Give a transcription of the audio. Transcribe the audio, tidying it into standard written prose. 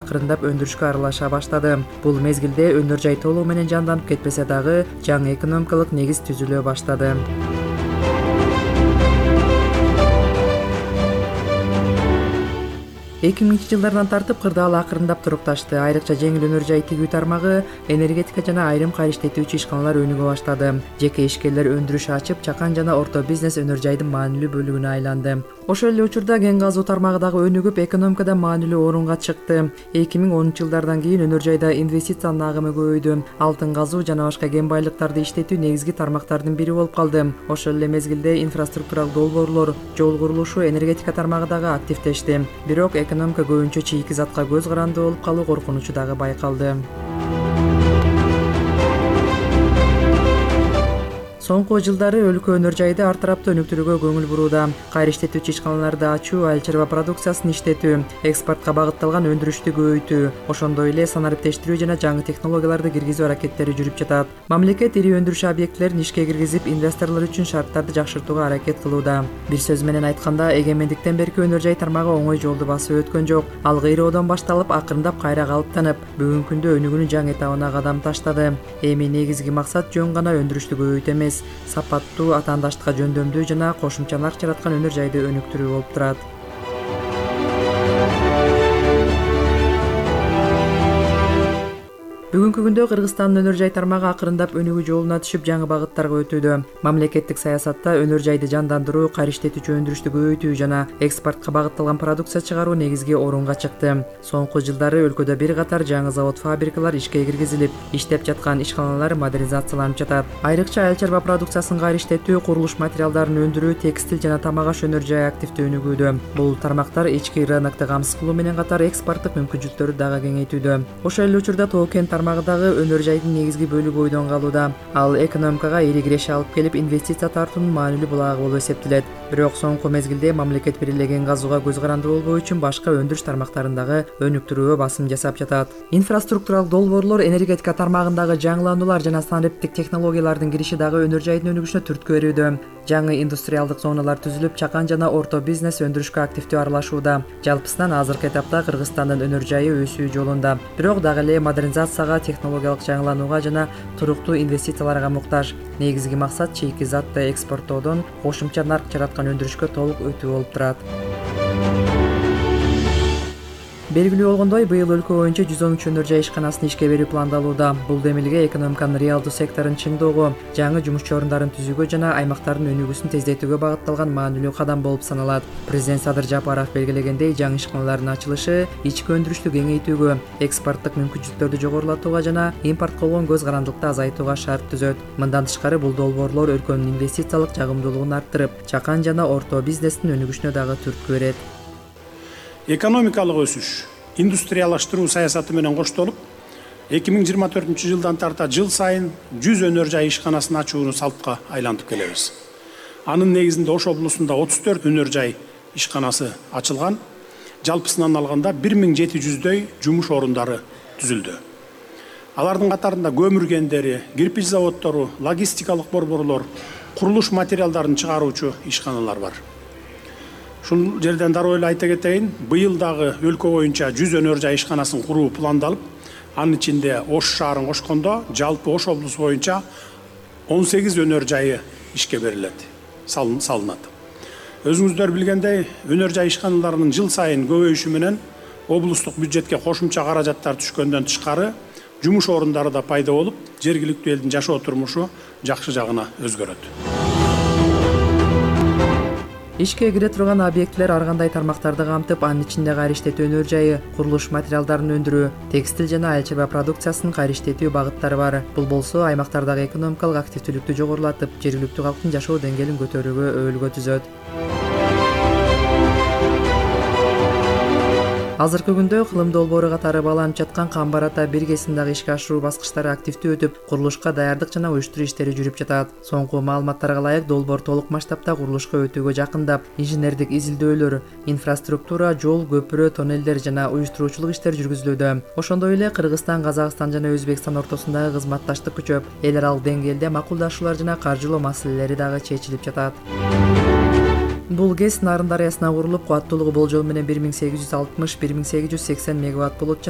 акырындап өндүрүшкө аралаша баштады. Бул мезгилде өнөр жай толугу менен жанданып кетпесе дагы жаңы экономикалык негиз түзүлө баштады. 2000 жылдардан тартып кырдаал акырындап турукташты. Айрыкча жеңил өнөр жай тигүү тармагы, энергетика жана айрым кайра иштетүүчү ишканалар өнүгө баштады. Жеке ишкерлер өндүрүш ачып, чакан жана орто бизнес өнөр жайдын маанилүү бөлүгүнө айланды. Ошол эле учурда кен казуу тармагы дагы өнүгүп, экономикада маанилүү орунга чыкты. 2010 жылдардан кийин өнөр жайда инвестициянын агымы көбөйдү. Алтын казуу жана башка кен байлыктарды иштетүү негизги тармактардын бири болуп калды. Ошол эле мезгилде инфраструктуралык долбоорлор, жол курулушу, энергетика тармагы дагы активдешти. Бирок экономика көбүнчө чийки затка көз каранды болуп калуу коркунучу дагы байкалды. Соңку жылдары өлкө өнөр жайды ар тараптуу өнүктүрүүгө көңүл бурууда. Кайра иштетүүчү ишканаларды ачуу, айыл чарба продукциясын иштетүү, экспортко багытталган өндүрүштү көбөйтүү, ошондой эле санариптештирүү жана жаңы технологияларды киргизүү аракеттери жүрүп жатат. Мамлекет ири өндүрүш объектилерин ишке киргизип, инвесторлор үчүн шарттарды жакшыртууга аракет кылууда. Бир сөз менен айтканда, эгемендиктен берки өнөр жай тармагы оңой жолду басып өткөн жок. Ал кыйроодон башталып, акырындап кайра калыптанып, бүгүнкү күндө өнүгүүнүн жаңы этабына кадам таштады. Эми негизги максат жөн гана өндүрүштү көбөйтүү эмес, сапаттуу, атаандаштыкка жөндөмдүү жана кошумча нарк жараткан өнөр жайды өнүктүрүү болуп турат. Бүгүнкү күндө Кыргызстандын өнөр жай тармагы акырындап өнүгүү жолуна түшүп, жаңы багыттарга өтүүдө. Мамлекеттик саясатта өнөр жайды жандандыруу, кайра иштетүүчү өндүрүштү көбөйтүү жана экспортко багытталган продукция чыгаруу негизги орунга чыкты. Соңку жылдары өлкөдө бир катар жаңы завод-фабрикалар ишке киргизилип, иштеп жаткан ишканалар модернизацияланып жатат. Айрыкча айыл чарба продукциясын кайра иштетүү, курулуш материалдарын өндүрүү, текстиль жана тамак аш өнөр жайы активдүү өнүгүүдө. Бул тармактар ички рынокто камсыз кылуу менен катар экспорттук мүмкүнчүлүктөрү дагы кеңейтүүдө. Ошол эле учурда тоо-кен тармагы дагы өнөр жайдын негизги бөлүгү бойдон калууда. Ал экономикага ири киреше алып келип, инвестиция тартуунун маанилүү булагы болуп эсептелет. Бирок соңку мезгилде мамлекет бир эле кен казууга көз каранды болбоо үчүн башка өндүрүш тармактарын дагы өнүктүрүүгө басым жасап жатат. Инфраструктуралык долбоорлор, энергетика тармагындагы жаңылануулар жана санариптик технологиялардын кириши дагы өнөр жайдын өнүгүшүнө түрткү берүүдө. Жаңы индустриалдык зоналар түзүлүп, чакан жана орто бизнес өндүрүшкө активдүү аралашууда. Жалпысынан азыркы этапта Кыргызстандын өнөр жайы өсүү жолунда. Бирок дагы эле модернизацияга, технологиялык жаңыланууга жана туруктуу инвестицияларга муктаж. Негизги максат чийки затты экспорттоодон кошумча нарк жараткан өндүрүшкө толук өтүү болуп турат. Белгилүү болгондой, быйыл өлкө боюнча 113 өнөр жай ишканасын ишке берүү пландалууда. Бул демилге экономиканын реалдуу секторун чыңдоого, жаңы жумушчу орундарын түзүүгө жана аймактардын өнүгүүсүн тездетүүгө багытталган маанилүү кадам болуп саналат. Президент Садыр Жапаров белгилегендей, жаңы ишканалардын ачылышы ички өндүрүштү кеңейтүүгө, экспорттук мүмкүнчүлүктөрдү жогорулатууга жана импортко болгон көз карандылыкты азайтууга шарт түзөт. Мындан тышкары, бул долбоорлор өлкөнүн инвестициялык жагымдуулугун арттырып, чакан жана орто бизнестин өнүгүшүнө дагы түрткү берет. Экономикалык өсүш, индустриялаштыруу саясаты менен коштолуп, 2024 жылдан тарта жыл сайын 100 өнөр жай ишканасын ачууну салтка айлантып келебиз. Анын негизинде Ош облусунда 34 өнөр жай ишканасы ачылган. Жалпысынан алганда 1700дөй жумуш орундары түзүлдү. Алардын катарында көмүр кендери, кирпич заводдору, логистикалык борборлор, курулуш материалдарын чыгаруучу ишканалар бар. Ушул жерден дароо эле айта кетейин, быйыл дагы өлкө боюнча 100 өнөр жай ишканасын куруу пландалып, анын ичинде Ош шаарын кошкондо жалпы Ош облусу боюнча 18 өнөр жайы ишке берилет, салынат. Өзүңүздөр билгендей, өнөр жай ишканаларынын жыл сайын көбөйүшү менен облустук бюджетке кошумча каражаттар түшкөндөн тышкары, жумуш орундары да пайда болуп, жергиликтүү элдин жашоо турмушу жакшы жагына өзгөрөт. Ишке кире турган объектилер ар кандай тармактарды камтып, анын ичинде кайра иштетүү өнөр жайы, курулуш материалдарын өндүрүү, текстиль жана айыл чарба продукциясын кайра иштетүү багыттары бар. Бул болсо аймактардагы экономикалык активдүүлүктү жогорулатып, жергиликтүү калктын жашоо деңгээлин көтөрүүгө өбөлгө түзөт. Азыркы күндө кылым долбоору катары бааланып жаткан Камбар Ата бир кесим дагы ишке ашыруу баскычтары активдүү өтүп, курулушка даярдык жана уюштуруу иштери жүрүп жатат. Соңку маалыматтарга ылайык, долбоор толук масштабта курулушка өтүүгө жакындап, инженердик изилдөөлөр, инфраструктура, жол, көпүрө, тоннелдер жана уюштуруучулук иштери жүргүзүлүүдө. Ошондой эле Кыргызстан, Казакстан жана Өзбекстан ортосундагы кызматташтык күчөп, эл аралык деңгээлде макулдашуулар жана каржылоо маселелери дагы чечилип жатат. Бул ГЭС Нарын дарыясына курулуп, кубаттуулугу болжол менен 1860-1880 мегаватт болот жана